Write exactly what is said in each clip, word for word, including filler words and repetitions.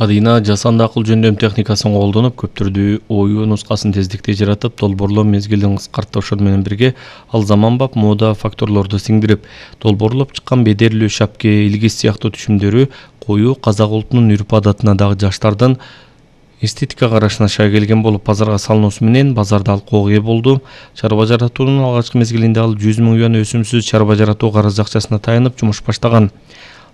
Адина жасанды акыл жөндөм техникасын колдонуп, көптөрдү оюу нускасын тездикте жаратып, долбоорлоо мезгилин кыскартты. Ошол менен бирге ал заманбап мода факторлорду сиңдирип, долбоорлоп чыккан бедерлүү шапке, илгиз сыяктуу түшүмдөрү коюу казак улутунун үрп адатына дагы жаштардын эстетика карашына шай келген болуп, базарга салынуусу менен базарда алкууга ээ болду. Чарба жаратуунун алгачкы мезгилинде ал жүз миң юан өсүмсүз чарба жаратуу карыз акчасына таянып жумуш баштаган.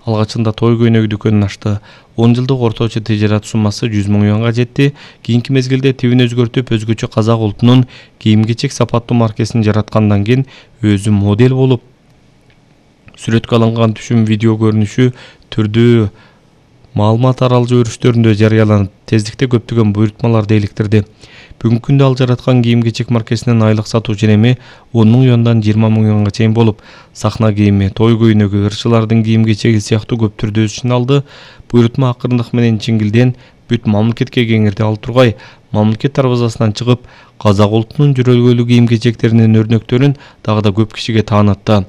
Алгачында той көйнөгү дүкөнүн ачты. он жылдык орточо тижерат суммасы жүз миң юанга жетти. Кийинки мезгилде тибин өзгөртүп, өзгөчө казак улутунун кийим-кечек сапаттуу маркесин жараткандан кийин өзү модель болуп, сүрөткө алынган түшүм видео көрүнүшү түрдүү маалымат аралжоо өрүштөрүндө жарыяланып, тездикте көптөгөн буйрутмаларды иликтирди. Бүгүнкү күндө ал жараткан кийим-кечек маркесинин айлык сатуу ченеми он миң юандан жыйырма миң юанга чейин болуп, сахна кийими, той көйнөгү, ырчылардын кийим-кечеги сыяктуу көп түрдө өсүшүн алды. Буйрутма акырындык менен чиңилден бүт мамлекетке кеңирди. Ал тургай мамлекет дарбазасынан чыгып, казак улутунун жүрөлгөлүү кийим-кечектеринин өрнөктөрүн дагы да көп кишиге таанытты.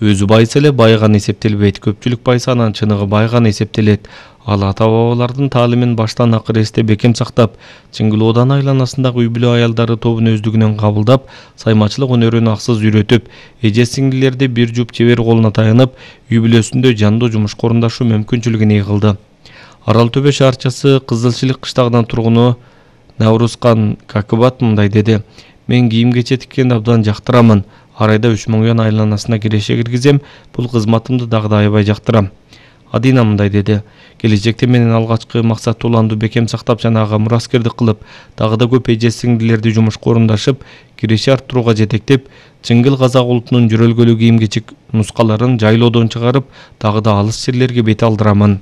Өзү байыса эле байыган эсептелбейт, көпчүлүк байыса анан чыныгы байыган эсептелет. Ал ата-бабалардын таалимин баштан акыр эсте бекем сактап, Чыңгылоодан айланасындагы үй бүлө аялдары тобун өздүгүнөн кабылдап, саймачылык өнөрүн аксыз үйрөтүп, эже-сиңдилерди бир жуп чебер колуна таянып, үй бүлөсүндө жандуу жумушка орундашуу мүмкүнчүлүгүн ий кылды. Арал Төбө шаарчасы Кызылчылык кыштагынын тургуну Наврузкан Какыбат мындай деди: "Мен кийим-кечек тиккенди абдан жактырамын. Ар айда үч миң юан айланасына киреше киргизем. Бул кызматымды дагы да аябай жактырам." Адина мындай деди: "Келечекте менин алгачкы максат уланду бекем сактап жана ага мураскердик кылып, дагы да көп эже-сиңдилерди жумушка орундашып, киреше арттырууга жетектеп, чыңгыл казак улутунун жүрөлгөлүү кийим-кечек нускаларын жайлоодон чыгарып, дагы да алыс жерлерге бет алдырамын."